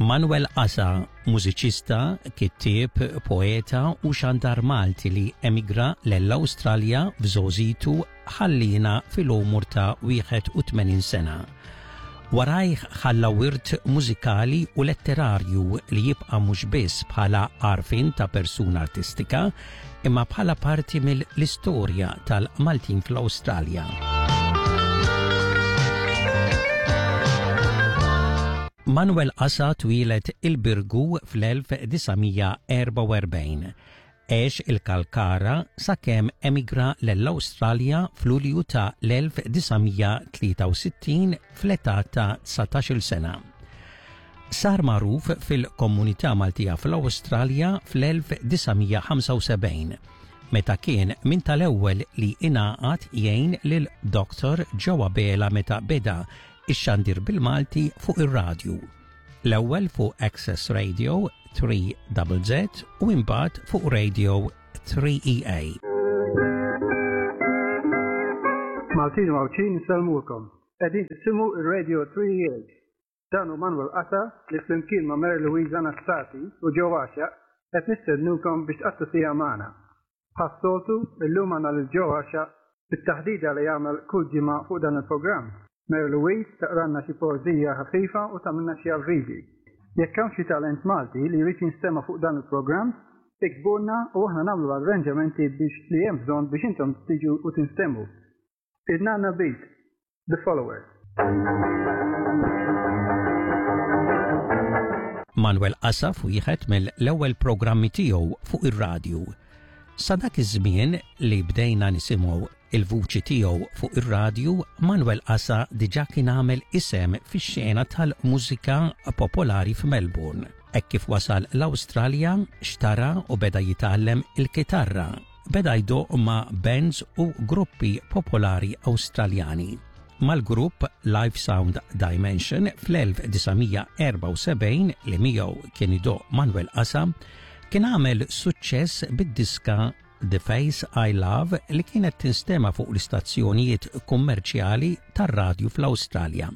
Manuel Asa, mużiċista, kittieb, poeta u xandar Malti li emigra l-Awstralja f'żgħożitu ħallina fil-għomor ta' 81 sena. Warajh ħalla wirt mużikali u letterarju li jibqa' mhux biss bħala għarfien ta' persuna artistika, imma bħala parti mill-istorja tal-Maltin fl-Awstralja. Manuel Asa twieled il-Birgu fl-1944. Għex il-Kalkara sakemm emigra lell-Awstralja f'Lulju ta' l-1963 fl-età ta' 19-il sena. Sar magħruf fil-komunità Maltija fl-Awstralja fl-1975 meta kien minn tal-ewwel li ingħaqad jgħin lil Dr. Joe Abela meta beda ix-xandir bil-Malti fuq ir-radju. L-ewwel fuq Access Radio 3ZZ u imbagħad fuq Radio 3EA. Maltin u Għawdxin insellmulkom. Qegħdin tisimgħu ir-Radio 3EA. Dan hu Manuel Qata li flimkien ma' Mary Louise Anastasi u Joe Għaxaq qed nistednukom biex tqattgħu siegħa magħna. Bħas-soltu, illum għandna lil Joe Għaxaq bit-taħdita li jagħmel kull ġimgħa fuq dan il-programm. Mary Louise taqralna xi poeżija ħafifa u tagħmilna xi avviżi. Jekk hawn xi talent Malti li jrid jinstema' fuq dan il-programm, iktbulna u aħna nagħmlu l-arranġamenti biex li hemm bżonn biex intom tiġu u tinstemgħu. In-Nanna Beat, The Followers. Manuel Asaf wieħed mill-ewwel programmi tiegħu fuq ir-radju. Sa dak iż-żmien li bdejna nisimgħu il-vuċi tiegħu fuq ir-radju, Manuel Asa diġà kien għamel isem fix-xena tal-mużika popolari f'Melbourne. Hekk kif wasal l-Awstralja, xtara u beda jitgħallem il-kitarra Beda jdoqq ma' bands u gruppi popolari Awstraljani. Mal-grupp Live Sound Dimension fl-1974 li miegħu kien idoqq Manuel Asa, kien għamel suċċess bid-diska The Face I Love li kienet tinstema' fuq l-istazzjonijiet kummerċjali tar-radju fl-Awstralja.